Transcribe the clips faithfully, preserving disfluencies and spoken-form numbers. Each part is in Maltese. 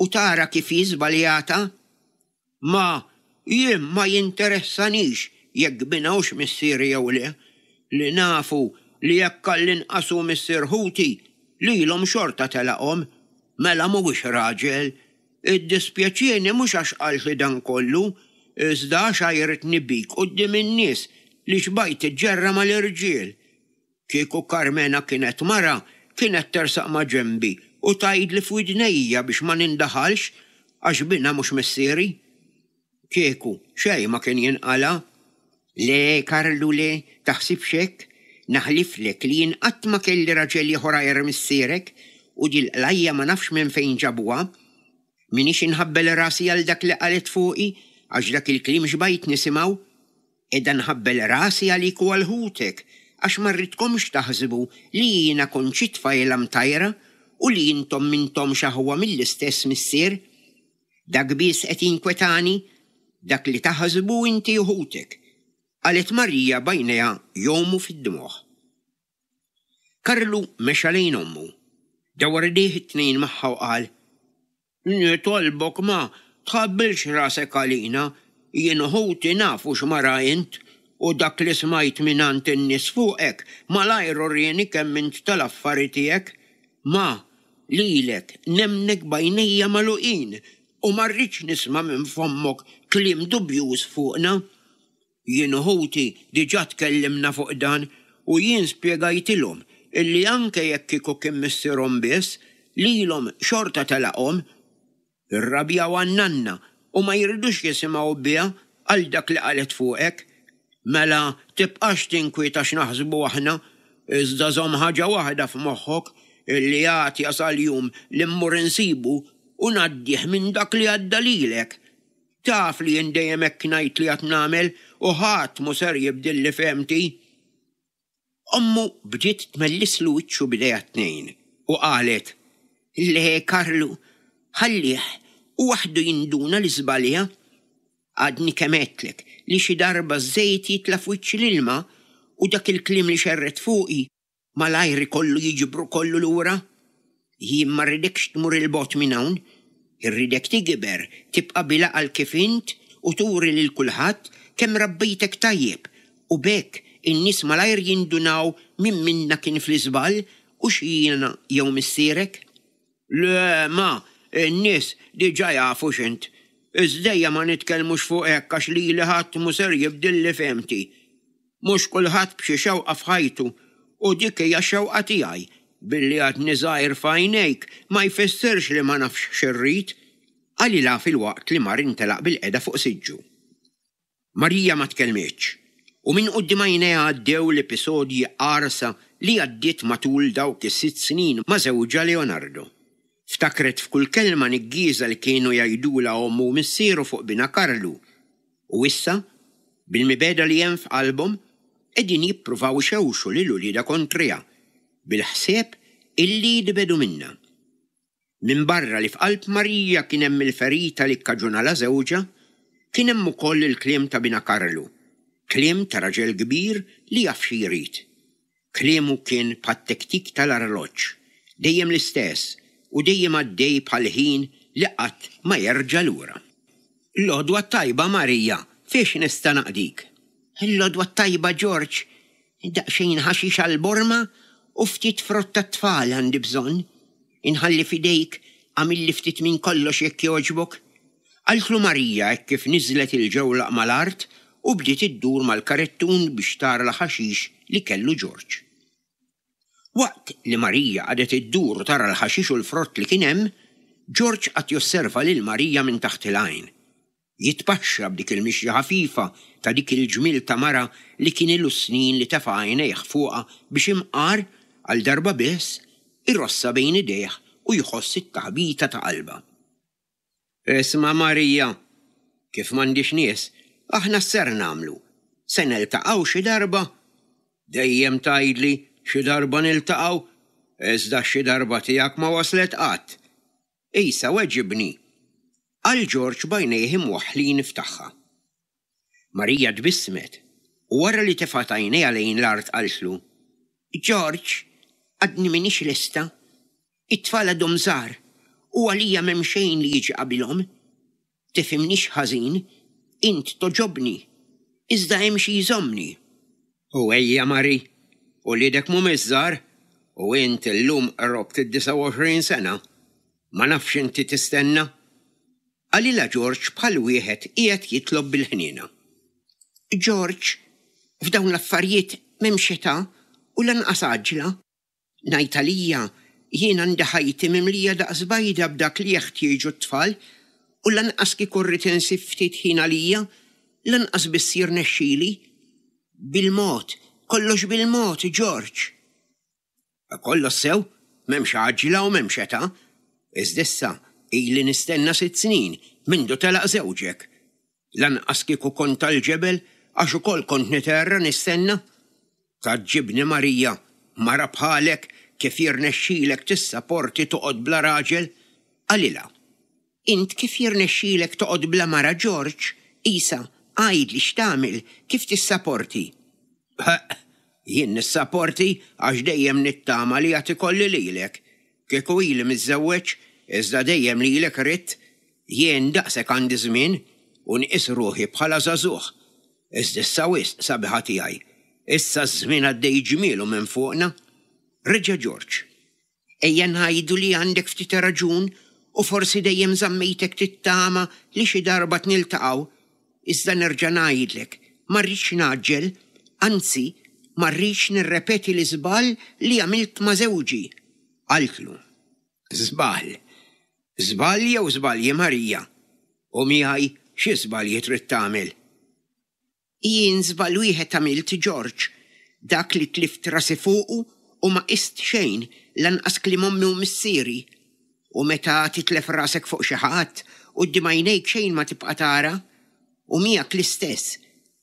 u tara kif hi żbaljata? Ma, jien ma jinteressanix jekk binha hux missieri jew le, li nafu li jekk għall-inqas hu missier ħuti, lilhom xorta telaqhom, mela mhuwiex raġel. Iddispjaċieni mhux għax qaltli dan kollu, iżda għax għajritni bik quddiem in-nies li xbajt tiġġerra mal-irġiel. Kieku Karmena kienet mara, kienet tersaq ma' ġenbi u tgħidli f'widnejja biex ma nindaħalx għax binha mhux missieri. Kieku xejn ma kien jinqala'. Le, Karlu, le, taħsibx hekk. Naħliflek li jien qatt ma kelli raġel ieħor għajr missierek u dil-qlajja ma nafx minn fejn ġabuha. M'iniex inħabbel rasi għal dak li qalet fuqi għax dak il-kliem xbajt nisimgħu. Qiegħda nħabbel rasi għalik u għal ħutek għax ma rridkomx taħsbu li jiena kont xi tfajla mtajra u li intom m'intomx aħwa mill-istess missier. Dak biss qed jinkwetani, dak li taħsbu inti u ħutek, qalet Marija b'għajnejha jgħumu fid-dmugħ. Karlu mexa lejn ommu, dawwar idejh it-tnejn magħha u qal, Nitolbok ma, tħabbilx rasek għalina, jien u ħuti nafu x'mara int u dak li smajt mingħand in-nies fuqek malajr urieni kemm int tal-affari tiegħek. Ma, lilek nemmnek b'għajnejja magħluqin u ma rridx nisma' minn fommok kliem dubjuż fuqna. Jien u ħuti diġà tkellimna fuq dan u jien spjegajtilhom illi anke jekk kieku kien missierhom biss, lilhom xorta telaqhom. Irrabjaw għan-nanna u ma jridux jisimgħu biha għal dak li qalet fuqek. Mela tibqax tinkwieta x'naħsbu aħna, iżda żomm ħaġa waħda f'moħħok illi għad jasal jum li mmur insibu u ngħaddih minn dak li għadda lilek. Taf li jien dejjem hekk ngħid li għad nagħmel u ħadd mhu ser jibdilli fehmti. Ommu bdiet tmellislu wiċċu b'idejha t-tnejn u qalet, Le Karlu, ħallih u waħdu jinduna li żbalja. Għadni kemm għedtlek li xi darba ż-żejt jitla' f'wiċċ l-ilma u dak il-kliem li xerred fuqi malajr ikollu jiġbru kollu lura. Jien ma rridekx tmur 'il bogħod minn hawn, irridek tikber, tibqa' bil-għaqal kif int u turi lil kulħadd kemm rabbejtek tajjeb u b'hekk in-nies malajr jindunaw min minna kien fl-iżball u x'jiena jew missierek. Le, ma, in-nies diġà jafu x'int. Iżda ejja ma nitkellmux fuq hekk għax lili ħadd mhu ser jibdilli fehmti. Mhux kulħadd b'xi xewqa f'ħajtu u dik hija x-xewqa tiegħi. Billi għadni żgħir f'għajnejk ma jfissirx li ma nafx x'irrid, qalilha filwaqt li mar intelaq bil-qeda fuq siġġu. Marija ma tkellmitx u minn quddiem għajnejha għaddew l-episodji qarsa li għaddiet matul dawk is-sitt snin ma' żewġha Leonardo. Ftakret f'kull kelma niggieża li kienu jgħidulha ommu u missieru fuq binha Karlu. U issa, bil-mibegħda li hemm f'qalbhom, qegħdin jippruvaw ixewxu lil uliedha kontriha, bil-ħsieb illi jitbiegħdu minnha. Minbarra li f'qalb Marija kien hemm il-ferita li kkaġunalha żewġha, kien hemm ukoll il-kliem ta' binha Karlu, kliem ta' raġel kbir li jaf xi jrid. Kliemu kien bħat-tektik tal-arloġġ, dejjem l-istess u dejjem għaddej bħal ħin li qatt ma jerġa' lura. L-għodwa t-tajba Marija, fiex nista' naqdik? L-għodwa t-tajba Ġorġ, daqsxejn ħaxix għall-borma u ftit frott tat-tfal għandi bżonn. Inħalli f'idejk, għamilli ftit minn kollox jekk jogħġbok. Qaltlu Marija hekk kif niżlet il-ġewlaq mal-art u bdiet iddur mal-karettun biex tara l-ħaxix li kellu Ġorġ. Waqt li Marija qagħdet iddur u tara l-ħaxix u l-frott li kien hemm, Ġorġ qagħad josserva lil Marija minn taħt il-għajn. Jitpaxxa b'dik il-mixja ħafifa ta' dik il-ġmiel ta' mara li kien ilu snin li tefa' għajnejh fuqha biex imqar għal darba biss irossha bejn idejh u jħoss it-taħbita ta' qalbha. Isma' Marija, kif m'għandix nies, aħna x'ser nagħmlu? Se niltaqgħu xi darba? Dejjem tgħidli xi darba niltaqgħu, iżda xi darba tiegħek ma waslet qatt. Isa weġibni, qal Ġorġ b'għajnejh imwaħħlin f'tagħha. Marija tbissmet u wara li tefgħet għajnejha lejn l-art qaltlu, Ġorġ, għadni m'iniex lesta. It-tfal għadhom żgħar U għalija m'hemm xejn li jiġi qabilhom. Tifhimnix ħażin, int togħġobni, iżda hemm xi jżommni. U ejja Mari, uliedek mhumiex żgħar, u int illum qrobt id-disgħa u għoxrin sena. Ma nafx inti tistenna. Qalilha Ġorġ bħal wieħed qiegħed jitlob bil-ħniena. Ġorġ, f'dawn l-affarijiet m'hemmx età u lanqas għaġla. Ngħid għalija, jien għandi ħajti mimlija daqs bajda b'dak li jeħtieġu t-tfal u lanqas kieku rrid insib ftit ħin għalija, lanqas biss jirnexxili. Bil-mod, kollox bil-mod, Ġorġ. Kollox sew, m'hemmx għaġla u m'hemmx età. Iżda issa ili nistenna sitt snin mindu telaq żewġek. Lanqas kieku kont tal-ġebel għax ukoll kont niterra nistenna. Tgħaġġibni Marija, mara bħalek kif jirnexxilek tissaporti toqgħod bla raġel? Qalilha. Int kif jirnexxilek toqgħod bla mara Ġorġ? Isa, għidli x'tagħmel, kif tissaporti? Ħeqq, jien nissaporti għax dejjem nittama li għad ikolli lilek. Kieku ili miżżewweġ, iżda dejjem lilek ridt, jien daqshekk għandi żmien u nqis ruħi bħala żagħżugħ. Iżda issa wisq, sabiħa tiegħi. Issa ż-żmien għaddej ġmielu minn fuqna. Reġa' Ġorġ. Ejja ngħidu li għandek ftit raġun u forsi dejjem żammejtek tittama li xi darba tniltaqgħu. Iżda nerġa' ngħidlek, ma rridx ngħaġġel, anzi, ma rridx nirrepeti l-iżball li għamilt ma' żewġi. Qaltlu. Żball. Żball jew żbalji, Marija? U miegħi xi żbalji trid tagħmel? Jien żball wieħed għamilt, Ġorġ, dak li tlift rasi fuqu u ma qist xejn lanqas kliem ommi u missieri. U meta titlef rasek fuq xi ħadd, quddiem għajnejk xejn ma tibqa' tara. U miegħek l-istess,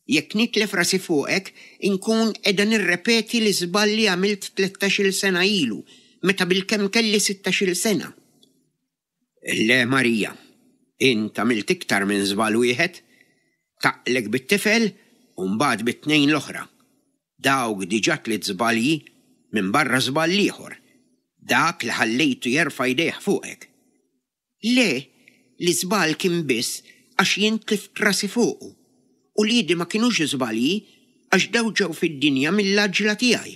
jekk nitlef rasi fuqek, inkun qiegħda nirrepeti l-iżball li għamilt tlettax-il sena ilu, meta bilkemm kelli sittax-il sena. Le, Marija, int għamilt iktar minn żball wieħed. Taqlek bit-tifel u mbagħad bit-tnejn l-oħra. Dawk diġà tliet żbalji minn barra żball ieħor, dak li ħallejtu jerfa' jdejh fuqek. Le, l-iżball kien biss għax jien tlift rasi fuqu. Uliedi ma kinux żbalji għax daw ġew fid-dinja mill-għaġla tiegħi.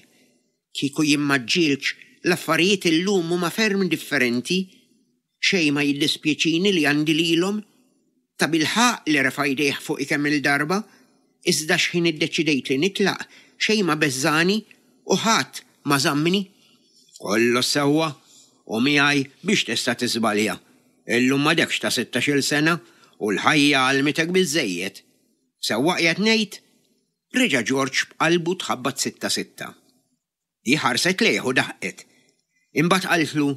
Kieku jien ma ġġieltx, l-affarijiet illum huma ferm differenti. Xejn ma jiddispjaċini li għandi lilhom. Tabilħaqq li refa' jdejh fuqi kemm-il darba, iżda x'ħin iddeċidejt li nitlaq, xejn ma beżżagħni u ħadd ma żammni. Kollox sewwa, u miegħi biex tista' tiżbalja. Illum m'għadekx ta' sittax-il sena u l-ħajja għallmitek biżżejjed. Sewwa qiegħed ngħid? Reġa' Ġorġ b'qalbu tħabbat sitta sitta. Hi ħarset lejh u daħqet. Imbagħad qaltlu,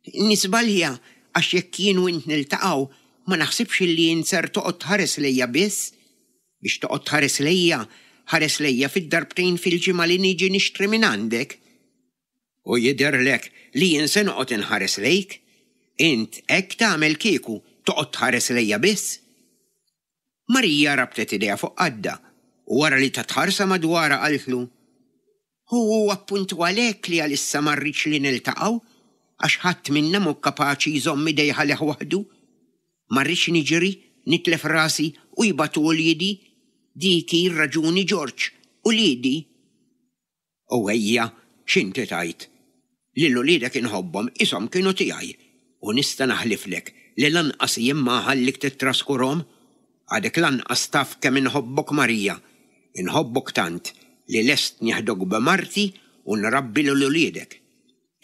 Niżbalja għax jekk jien u int niltaqgħu ma naħsibx illi int ser toqgħod tħares lejja biss. Biex toqgħod tħares lejja, ħares lejja fid-darbtejn fil-ġimgħa li niġi nixtri minn għandek. U jidherlek li jien se noqgħod inħares lejk? Int hekk tagħmel kieku toqgħod tħares lejja biss? Marija rabtet idejha fuq qaddha u wara li tat ħarsa madwarha qaltlu, Hu hu appuntu għalhekk li għalissa ma rridx li niltaqgħu, għax ħadd minna mhu kapaċi jżomm idejh għalih waħdu. Ma rridx niġri, nitlef rasi u jbatu uliedi. Dik hi r-raġuni Ġorġ, uliedi. U ejja, x'inti tgħid? Lil uliedek inħobbhom qishom kienu tiegħi u nista' naħliflek li lanqas jien ma nħallik tittraskurhom. Għadek lanqas taf kemm inħobbok Marija. Inħobbok tant li lest nieħdok b'marti u nrabbi lil uliedek.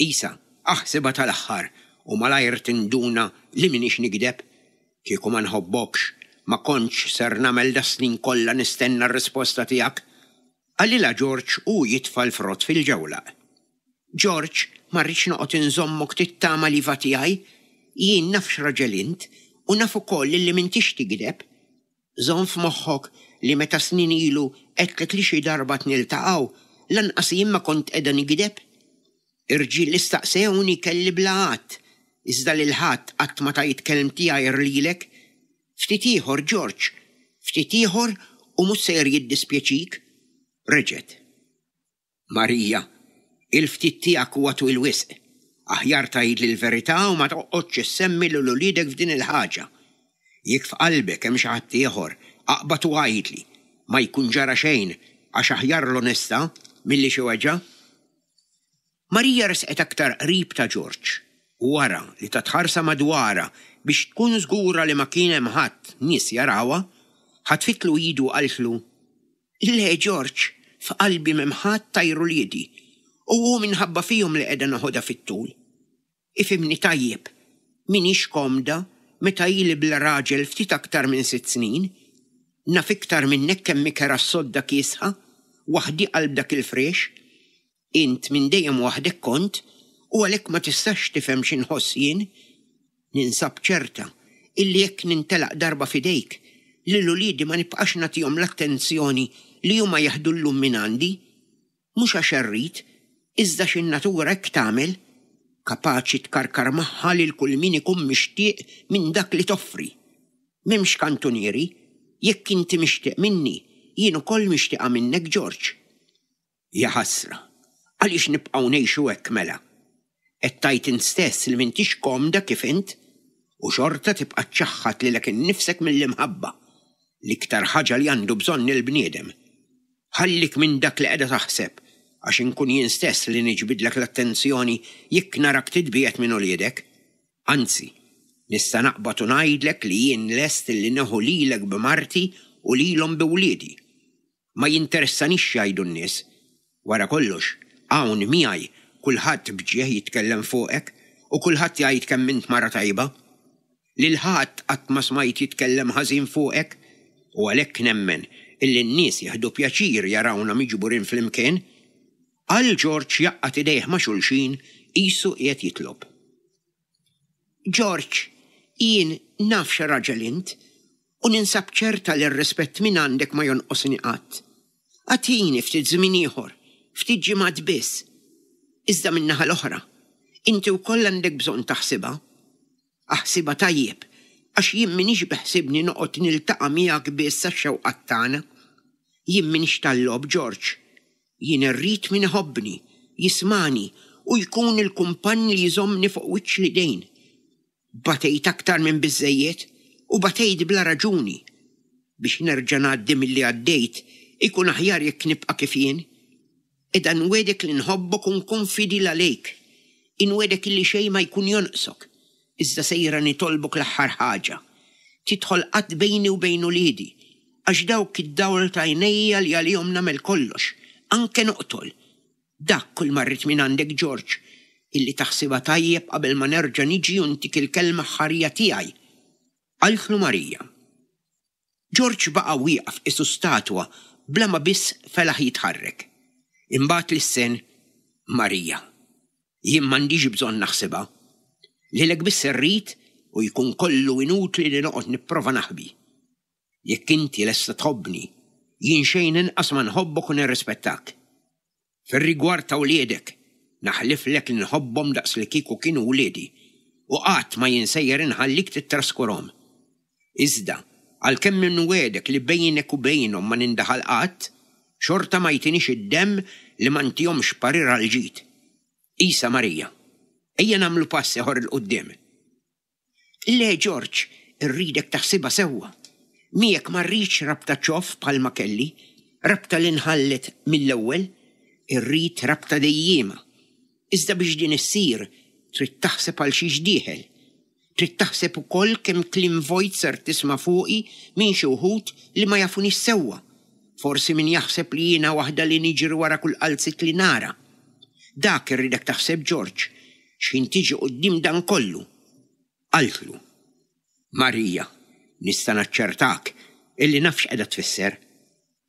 Isa, aħsibha tal-aħħar u malajr tinduna li m'iniex nigdeb. Kieku ma nħobbokx, ma kontx ser nagħmel das-snin kollha nistenna r-risposta tiegħek. Qalilha Ġorġ u jitfa' l-frott fil-ġewlaq. Ġorġ, ma rridx noqgħod inżommok tittama l-iva tiegħi. Jien naf x'raġel int u naf ukoll li m'intix tigdeb. Żomm f'moħħok li meta snin ilu għedtlek li xi darba tniltaqgħu, lanqas jien ma kont qiegħda nigdeb. Irġiel li staqsewni kelli bla għadd, iżda lil ħadd qatt ma tajt kelmti għajr lilek. Ftit ieħor, Ġorġ, ftit ieħor u mhux sejjer jiddispjaċik. Reġgħet. Marija, il-ftit tiegħek huwa twil wisq. Aħjar tgħidli l-verità u ma toqgħodx issemmi lil uliedek f'din il-ħaġa. Jekk f'qalbek hemm xi ħadd ieħor, aqbad u għidli. Ma jkun ġara xejn għax aħjar l-onestà milli xi weġgħa. Marija resqet aktar qrib ta' Ġorġ u wara li tat ħarsa madwarha biex tkun żgura li ma kien hemm ħadd nies jarawha, ħatfitlu idu u qaltlu, Le Ġorġ, f'qalbi m'hemm ħadd għajr uliedi u hu minħabba fihom li qiegħda noħodha fit-tul. Ifhimni tajjeb, m'iniex komda meta ili bla raġel ftit aktar minn sitt snin. Naf iktar minnek kemm hi kerha s-sodda kiesħa, waħdi qalb dak il-friex. Int minn dejjem waħdek kont u għalhekk ma tistax tifhem xi nħoss jien. Ninsab ċerta illi jekk nintelaq darba f'idejk, lil uliedi ma nibqax nagħtihom l-attenzjoni li huma jeħdu llum mingħandi. Mhux għax irrid, iżda għax in-natura hekk tagħmel. Kapaċi tkarkar magħha lil kull min ikun mixtieq minn dak li toffri. M'hemmx kantunieri, jekk inti mixtieq minni, jien ukoll mixtieqa minnek Ġorġ. Jaħasra, għaliex nibqgħu ngħixu hekk mela? Qed tgħid int stess li m'intix komda kif int u xorta tibqa' ċċaħħad lilek innifsek mill-imħabba, l-iktar ħaġa li għandu bżonn il-bniedem. Ħallik minn dak li qiegħda taħseb għax inkun jien stess li niġbidlek l-attenzjoni jekk narak titbiegħed minn uliedek. Anzi, nista' naqbad u ngħidlek li jien lest li nieħu lilek b'marti u lilhom bi wliedi. Ma jinteressanix x'jgħidu n-nies. Wara kollox, hawn miegħi kulħadd b'ġieħ jitkellem fuqek u kulħadd jgħid kemm int mara tajba. Lil ħadd qatt ma smajt jitkellem ħażin fuqek u għalhekk nemmen illi n-nies jieħdu pjaċir jarawna miġburin flimkien. Qal Ġorġ jgħaqqad idejh ma' xulxin qisu qiegħed jitlob. Ġorġ, jien naf x'raġel int u ninsab ċerta li r-rispett mingħandek ma jonqosni qatt. Agħtini ftit żmien ieħor, ftit ġimgħat biss. Iżda min-naħa l-oħra, inti wkoll għandek bżonn taħsibha. Aħsibha tajjeb, għax jien m'iniex beħsiebni noqgħod niltaqa' miegħek biss għax-xewqat tagħna. Jien m'iniex tal-logħob, Ġorġ. Jien irrid min iħobbni, jismagħni u jkun il-kumpann li jżommni fuq wiċċ l-idejn. Batejt aktar minn biżżejjed u batejt bla raġuni. Biex nerġa' ngħaddi milli għaddejt, ikun aħjar jekk nibqa' kif jien. Qiegħda nwegħdek li nħobbok u nkun fidil għalejk. Inwegħdek illi xejn ma jkun jonqsok. Iżda sejra nitolbok l-aħħar ħaġa. Tidħol qatt bejni u bejn uliedi, għax dawk id-dawl t'għajnejja li għalihom nagħmel kollox, anke noqtol. Dak kull ma rrid mingħandek Ġorġ, illi taħsibha tajjeb qabel ma nerġa' niġi u ntik il-kelma aħħarija tiegħi. Qaltlu Marija. Ġorġ baqa' wieqaf qisu statwa bla ma biss felaħ jitħarrek. Imbagħad lissen, Marija, jien m'għandix bżonn naħsibha. Lilek biss irrid u jkun kollu inutli li noqgħod nipprova naħbi. Jekk inti lesta tħobbni, jien xejn inqas ma nħobbok u nirrispettak. Fir-rigward ta' wliedek, naħliflek li nħobbhom daqs li kieku kienu wliedi u qatt ma jien sejjer inħallik tittraskurhom. Iżda, għalkemm inwiegħdek li bejnek u bejnhom ma nindaħal qatt, xorta ma jtinix id-demm li ma ntihomx parir għall-ġid. Isa Marija, ejja nagħmlu pass ieħor 'il quddiem. Le, Ġorġ, irridek taħsibha sewwa. Miegħek ma rridx rabta ċoff bħalma kelli, rabta li nħallet mill-ewwel, irrid rabta dejjiema. Iżda biex din issir, trid taħseb għal xiex dieħel. Trid taħseb ukoll kemm kliem vojt ser tisma' fuqi minn xi wħud li ma jafunix sewwa. Forsi min jaħseb li jiena waħda li niġri wara kull qalziet li nara. Dak irridek taħseb Ġorġ, x'ħin tiġi quddiem dan kollu. Qaltlu. Marija, nista' naċċertak illi naf x'qiegħda tfisser.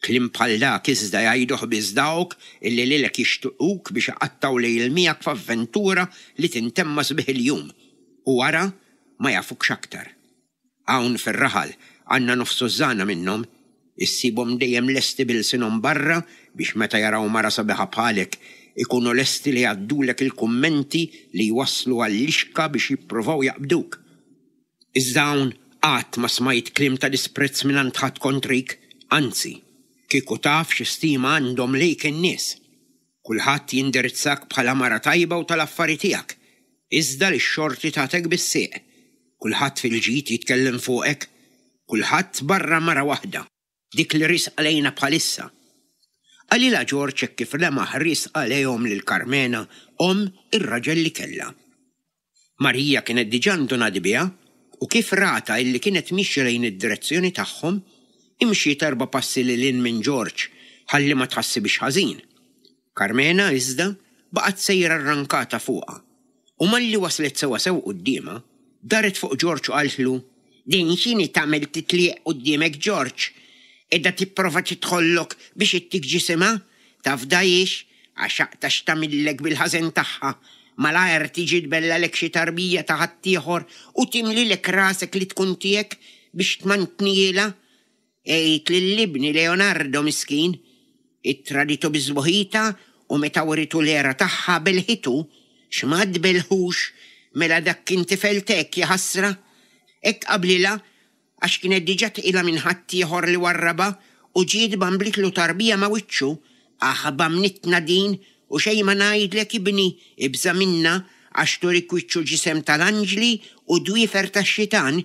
Kliem bħal dak iżda jgħiduh biss dawk illi lilek jixtiquk biex iqattgħu lejl miegħek f'avventura li tintemm ma' sbieħ il-jum u wara ma jafukx aktar. Hawn fir-raħal għandna nofs tużżana minnhom, issibhom dejjem lesti b'ilsienhom barra biex meta jaraw mara sabiħa bħalek ikunu lesti li jgħaddulek il-kummenti li jwasslu għal-lixka biex jippruvaw jaqbduk. Iżda hawn qatt ma smajt kliem ta' disprezz mingħand ħadd kontrik, anzi, kieku taf xi stima għandhom lejk in-nies. Kulħadd jindirizzak bħala mara tajba u tal-affari tiegħek. Iżda li x-xorti tagħtek bis-sieq. Kulħadd fil-ġid jitkellem fuqek, kulħadd barra mara waħda, dik li riesqa lejna bħalissa. Qalilha Ġorġ hekk kif lemaħ riesqa lejhom lil Karmena, omm ir-raġel li kellha. Marija kienet diġà ndunat biha u kif ratha illi kienet mixja lejn id-direzzjoni tagħhom, imxiet erba' passi lil hinn minn Ġorġ ħalli ma tħassibhiex ħażin. Karmena, iżda, baqgħet sejra rrankata fuqha u malli waslet sewwasew quddiemha, daret fuq Ġorġ u qaltlu, Din x'inhi tagħmel titlieq quddiemek Ġorġ? Qiegħda tipprova tidħollok biex ittik ġisimha? Tafdahiex, għax aqta' x'tagħmillek bil-ħażen tagħha. Malajr tiġi tbellgħalek xi tarbija ta' ħaddieħor u timlilek rasek li tkun tiegħek biex tmantnihielha. Għid lil ibni Leonardo miskin. Ittraditu bi sbuħitha u meta writu l-għera tagħha belħitu. X'ma tbellħux, mela dak kien tifel t'hekk, jaħasra. Hekk qablilha għax kienet diġà tqila minn ħaddieħor li warrabha u ġiet bamblitlu tarbija ma' wiċċu. Aħba mnittna din u xejn ma ngħidlek ibni, ibża' minnha għax turik wiċċ u ġisem tal-anġli u dwiefer tax-xitan,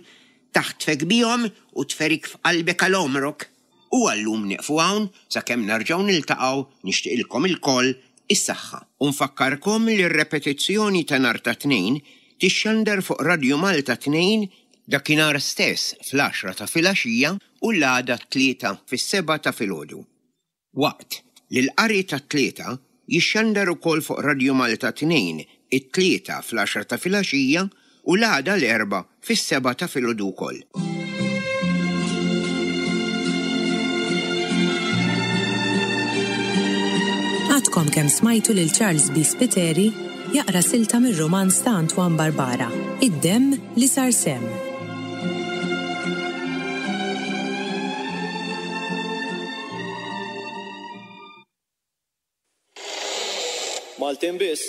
taħtfek bihom u tferik f'qalbek għal għomrok. U għal-lum nieqfu hawn sakemm nerġgħu niltaqgħu nixtieqilkom ilkoll is-saħħa. U nfakkarkom li r-repetizzjoni ta' nhar ta' Tnejn tixxandar fuq Radju Malta tnejn dakinhar stess fl-għaxra ta' filgħaxija u l-għada t-Tlieta fis-sebgħa ta' filgħodu. Waqt li l-qari tat-Tlieta jixxandar ukoll fuq Radju Malta tnejn it-Tlieta fl-għaxra ta' filgħaxija u l-għada l-Erbgħa fis-sebgħa ta' filgħodu wkoll. Għadkom kemm smajtu lil Charles B. Spiteri jaqra silta mir-rumanz ta' Antoine Barbara, Id-Demm li Sar Semm. Maltin biss.